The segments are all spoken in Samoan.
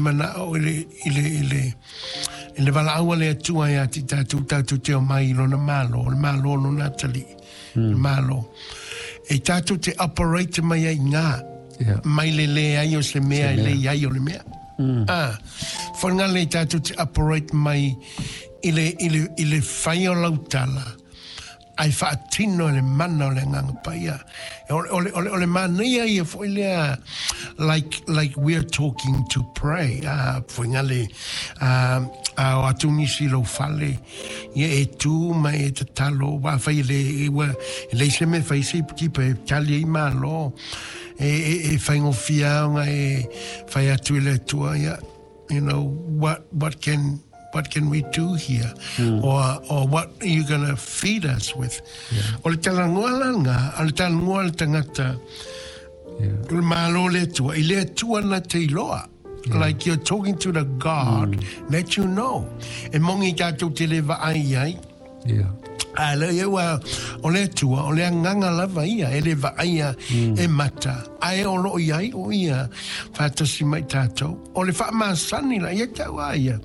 Manao i le, i le, i le, i le valaau a le Atua ia te tatou, tatou te omai i lona Malo, o le Malo o lona atalii, le Malo. E tatou te operate mai ai i ina, mai le leai o se mea i le i ai o le mea. Ah, whangale tatou te operate mai i le fai o lau tala, ai faatino le mana o le Agaga Paia. O le manaia ia foi lea, like we are talking to pray. Ah, fuainga ah, a o atu nisi lou fale, ia e tu ma e tatalo, wa fai le, e ua, e le se me fai se tipa e tali ai malo, e whaingofia ona e fai atu i le Atua, ia, what can we do here? Or what are you going to feed us with? O le talanoa la ngā, o le talanoa le tangata, o le malo le Atua, i le Atua na te iloa. Like you're talking to the God that you know. E mongi tātou te le vaai ai. A le ia ua, o le Atua, o le agaga lava ia, e le vaaia e mata. Ae o loo iai o ia, whātasi mai tātou. O le whaamasani la, ia tau a ia.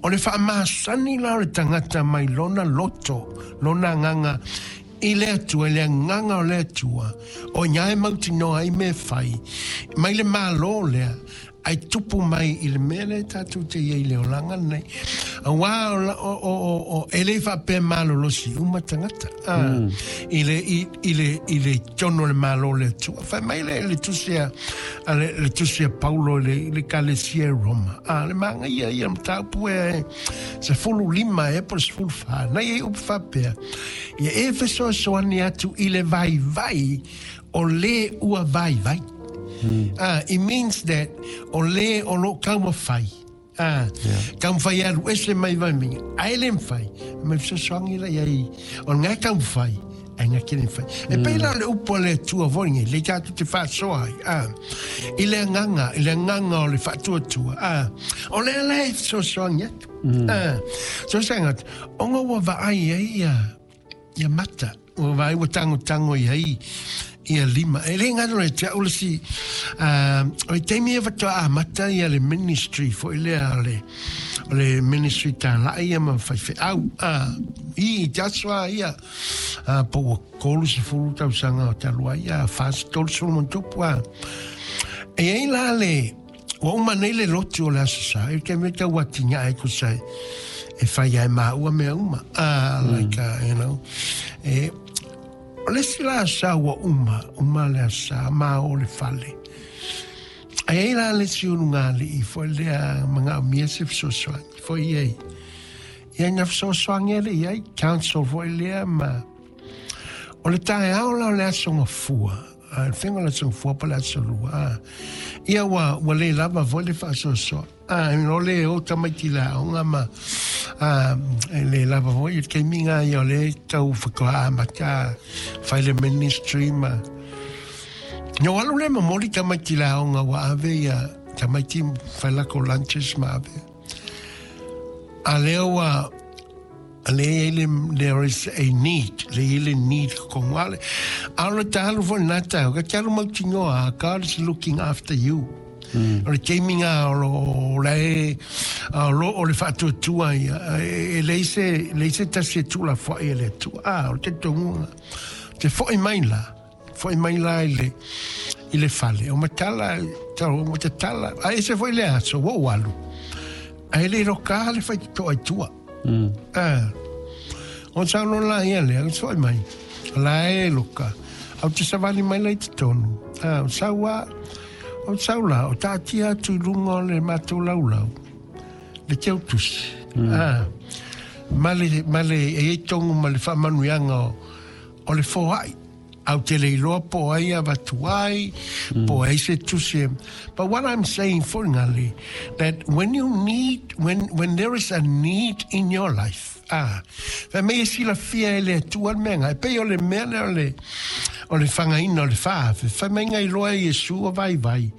O le whaamasani la o le tangata mai lona loto, lona agaga, i le Atua, i le agaga o le Atua, o ia e mautinoa ai me whai, mai le malo lea, ai tupu mai i le mea lea tatou te iai le olaga nei. Auā o e le faapea malolosi uma tagata. Ah, i le tonu o le malo le Atua. Fai mai le tusi a le tusi a Paulo i le kalesia i Roma. Ah, le magaia ia mataupu e 15 e po le 14. Na ia upu faapea. Ia e fesoasoani atu i le vaivai o le ua vaivai. Ah, it means that o le o lo taumafai. Ah, taumafai alu ese mai vai minga. Ai le mwhai. Me fesoasoani la iai. O ngā taumafai. Ai ngā kene whai. E pēlā le upu a le Atua foi ngai, le tātou te whaasoa ai. Ah, i le agaga, i le agaga o le faatuatua. Ah, o le ala e fesoasoani atu. Ah, fesoasoani atu. Ona ua vaai ai ia mata. Ua vaai ua tangotango i ai ia lima. E le ngaro le te au le si, o le taimi e whatoa a mata ia le ministry foi lea o le ministry tālai ia ma whai wheau. I te aso a ia, po ua 30 tausaga o talu ai, ia, 40 ma tupu, a. E ai la le, ua uma nei le lotu o le Aso Sa, e te mea tau atinga e kusa e whai ai mā ua mea uma. Like, e, o le si la sa ua uma, uma le asa, mā o le fale. Ai ai la le si unu ngā li i foi lea manga o mia se fesoasoani, foi ai. Ia nga fesoasoani ele i ai, council foi lea ma... O le taeao la o le aso gafua, a le faiga o le aso gafua po o le aso lua, a. Ia ua le lava foi le faasoasoa. A, o le o tamaiti le aoga ma a, e le lava foi i le taimi ngā ia o le tau whakua amata whai le ministry ma. No alu le momoli tamaiti le aoga ua ave ia tamaiti whai lako lunches ma ave. A lea ua le i le there is a need, le i le need ko ngale. A o le talu fo nā tau, ka talu mautinoa, God is looking after you. O le taimi ngā o lo le o lo o le whaatuatua ia, e le se tasi e tula fo i le Atua. Ah, o te tongunga. Te foi mai la, foi mai la i le fale. O matala, tau o te tala. A e se foi le aso, ua walu. A e le roka le whai toa i tua. Ah. O sa lo la ia le, o foi mai. La e loka. Au te savali mai la i te tonu. Ah, o sau a, o sau la, o tātia atu i lunga o le mātou laulau. Le teu tusi. Ah. Ma le, e ei tongu ma le whaamanuiaga o le foai. Au te le iloa po ai a vatu ai, po ai se tusi. But what I'm saying for ngale, that when you need, when there is a need in your life, ah, fa me si la fia e le Atua le mea ngai, pe o le mea lea o le whangaina o le whaafe, fa me ngai loa e Iesu o vai vai,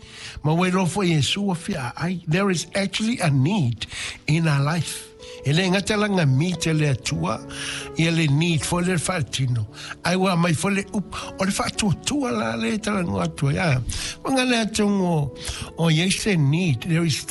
ma ua iloa foi Iesu o fia ai. There is actually a need in our life. E le ngata langa mi te le Atua, ia le need foi le whaatino. Ai ua mai foi le up, o le whaatuatua la le talanoa atua. Ia, wanga le atungo o, o iai se need, there is.